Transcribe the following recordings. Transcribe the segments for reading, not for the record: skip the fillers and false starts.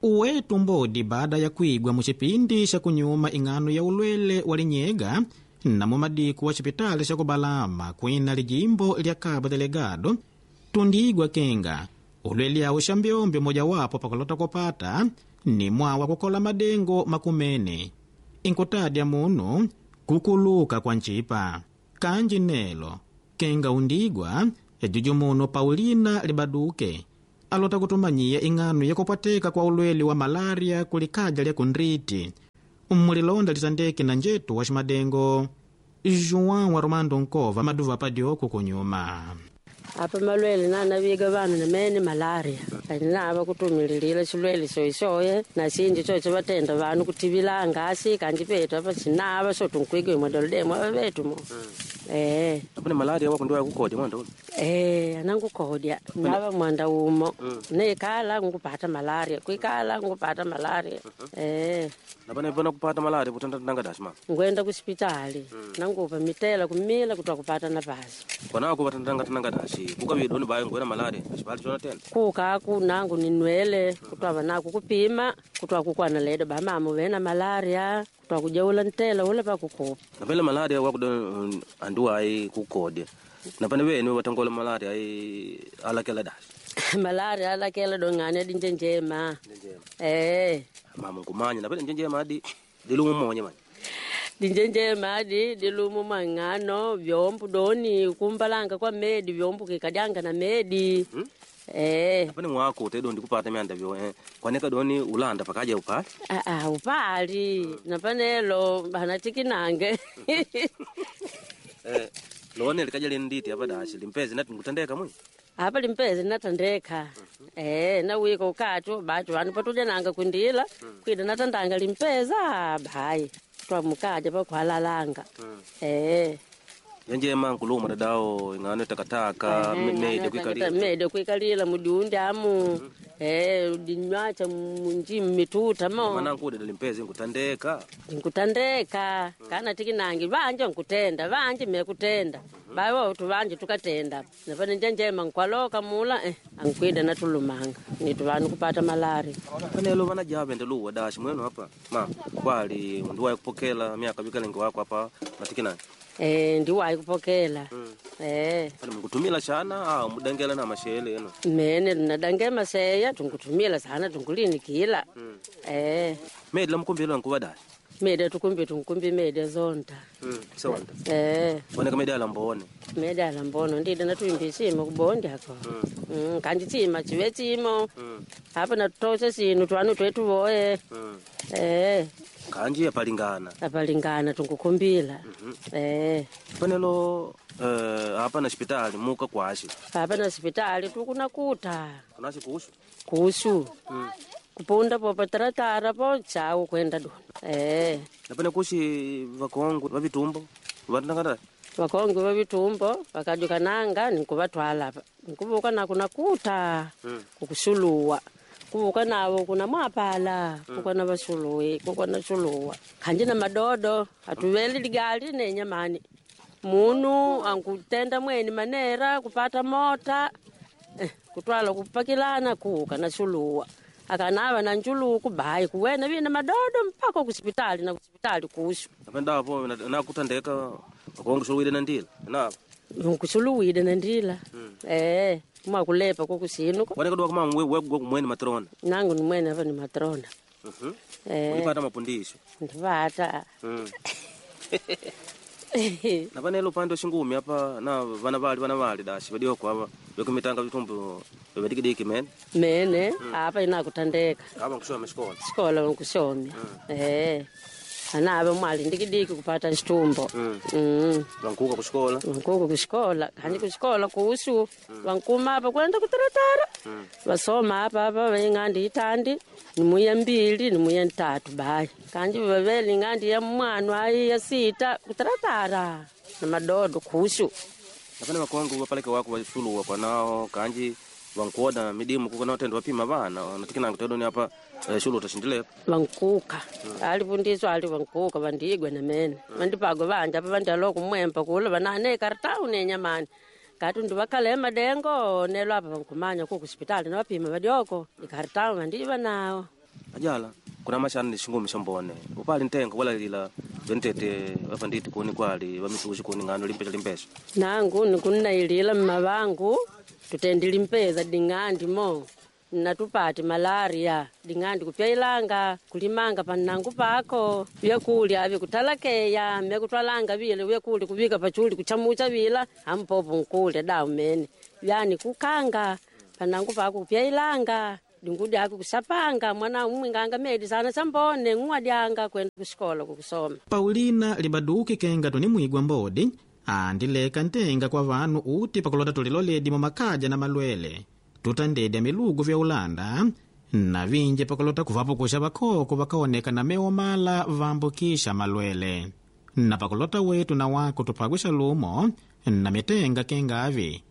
Uwetu mbodi baada ya kwigwa muchipindi cha kunyuma ing'ano ya ulwele wa linyega na mumadiku wa chipitali cha kubalama kwina lijimbo lya Cabo Delgado, tundiigwa kenga ulwele awo xambyombyo mojawapo pakulota kupata ni mwawa kukola madengo makumene inkutadya munu kukuluka kwa ncipa kanji nelo kenga undigwa ejuju muno Paulina Libaduke alota kutumanyiya ing'ano yakupwateka kwa ulwele wa malaria kulikaja lya kundriti mmulilonda litandeke na njetu wa ximadengo João wa Romando Nkova maduva padyoku kunyuma. Apa malwele nanaviga vanu namene malaria nava kutumililila xilwele soisoye na sinji coco vatenda vanu kutivilanga asi kanji petu apa sinava so tunkwigwe mwadolodemo ava vetu mo. Apane malaria wako ndio yakukodya mwanda uno. Anangukodya nava mwanda umo nekala ngupata malaria kwikala ngupata malaria. Napane vana kupata malaria kutanda ndanga dashi mama. Ngwenda kusipitali nangupa mitela kumila kutwa kupata nafasi. Kwana kupata ndanga tanga dashi kukavidoni bayo ngwena malaria xibali chona tena. Kukaku nangu ninwele kutwava naku kupima kutwa kukwana ledo bamama vena malaria kutwa kujaula ntela ula pakukupa. Napane malaria wako do anduwa ai kukodya. Napane wene watangola malaria ai alakela dashi. Malaria alakela dongane dinjenjema. Mama nkumanya napane njenjema adi dilumu monye manje. Dinjenjema adi dilumu mang'ano vyombo doni kumbalanga kwa medi vyombo kikadyanga na medi. Napane mwako tedo ndikupata myanda vyo kwaneka doni ulanda pakaja upali. Upali napanelo banatikinange. Lone likaja linditi apa dashi limpezi nati ngutandeka mwi. Apa limpezi natandeka. Nawika ukatu bacho vanu patuja nanga kwindila kwida natandanga limpeza bayi twamukaja pakuhalalanga. Njenjema nkuluma dadao ing'ano takataka mede kwikalila. Mede kwikalila mudiundi amu. Dinywacha munji mmituta mo. Mana nkude limpezi nkutandeka. Nkutandeka kana tikinangi vanje nkutenda vanje mekutenda. Bawo tuvanje tukatenda. Napane njenjema nkwaloka mula ankwida natulumanga. Nitu vanu kupata malaria. Panelo vana jave ndeluwa dashi mwenu hapa. Ma kwali nduwa kupokela miaka bikalengo wako hapa matikinangi. Ndiwayi kupokela. Pane mukutumila shana mudangela na mashele eno. Mene nadange maseya tunkutumila sana tunkulinikila. Mede la mukumbilo nkuva dashi. Mede tukumbi tunkumbi mede zonta. Sonta. Boneka mede ala mbone. Mede ala mbono ndide natuimbi chimo kubondi ako. Kanji chima chive chimo. Apa natutosha sinu twanu twetu voye. Kanji apalingana. Apalingana tunkukumbila. Panelo apa na hospitali muka kwashi. Apa na hospitali tukunakuta. Kunashi kuhusu? Kuhusu. Kupunda popa taratara po chau kwenda dona. Napene kushi vakongwe vavitumbo vatangata. Vakongwe vavitumbo vakajukananga nikuvatwala apa. Nikuvuka nako nakuta kukusuluwa. Kuvuka navo kuna mwapala kukwana vasuluwi kukwana suluwa. Kanji na madodo atuveli ligali nenyamani. Munu ankutenda mweni manera kupata mota kutwala kupakilana kuka na suluwa. Akanava na njuluku bayi kuwena vina madodo mpaka kusipitali na kusipitali kuhusu. Napenda hapo nakutandeka vakongo suluwile na ndila. Na nkusuluwile na ndila. Mwakulepa kukusinu. Waneka dwa kama wewe mweni matrona. Nangu ni mwene hapa ni matrona. Ulipata mapundisho. Ndipata. Na panelo upande shingumi hapa na vana vali dashi vadioko hapa vekumitanga vitumbo vedikidiki mene. Mene hapa inakutandeka. Hapa nkushoma shikola. Shikola nkushomya. Anava mwali ndikidiki kupata chitumbo. Vankuka kushikola. Vankuka kushikola. Kanji kushikola kuhusu. Vankuma hapa kwenda kutaratara. Vasoma hapa hapa veng'andi itandi. Nimuya mbili nimuya ntatu bayi. Kanji vaveli ng'andi ya mwanu ayi ya sita kutaratara. Na madodo kuhusu. Napane vakongo vapaleke wako vasuluwa kwa nao kanji vankuoda midimu kuko nao tendo vapima vana natikinanga tedoni hapa shulu utashindilepo. Vankuka alifundiswa ali vankuka vandigwe na mene vandipagwe vanja apa vandalo kumwempa kula vanane kartau nenyamani kati ndivakale madengo nelo apa vankumanya ku kusipitali navapima vadioko ikartau vandiva nao. Ajala kuna mashana ni shingumi shambone upali ntenga walalila ventete vafanditi kuni kwali vamitushi kuni ng'ano limpesha limpesha. Nangu nikunnailila mmavangu tutendile mpeza ding'andi mo natupate malaria ding'andi kupyailanga kulimanga pannangu pako vyakulya avi kutalakeya myakutwalanga vile vyakulya kuvika pachuli kuchamucha vila ampopo nkulya dawu mene vyani kukanga pannangu pako kupyailanga dingudi ako kusapanga mwana umwinganga medi sana sambone ng'uwadyanga kwenda kushikola kukusoma. Paulina libaduki kenga tunimwigwa mbodi andileka ntenga kwa vanu uti pakulota tuliloledi mumakaja na malwele tutandedya milugu vya ulanda na vinji pakulota kuvapukusha vakhoko vakaoneka na mewo mala vambukisha malwele na pakulota wetu na wako tupagwisha lumo na mitenga kengavi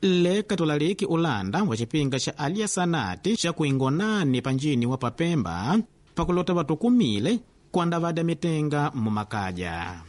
leka tulaliki ulanda wa cipinga xa aliasanati xa kuingonani panjini wa papemba pakulota vatukumile kuandavadya mitenga mumakaja.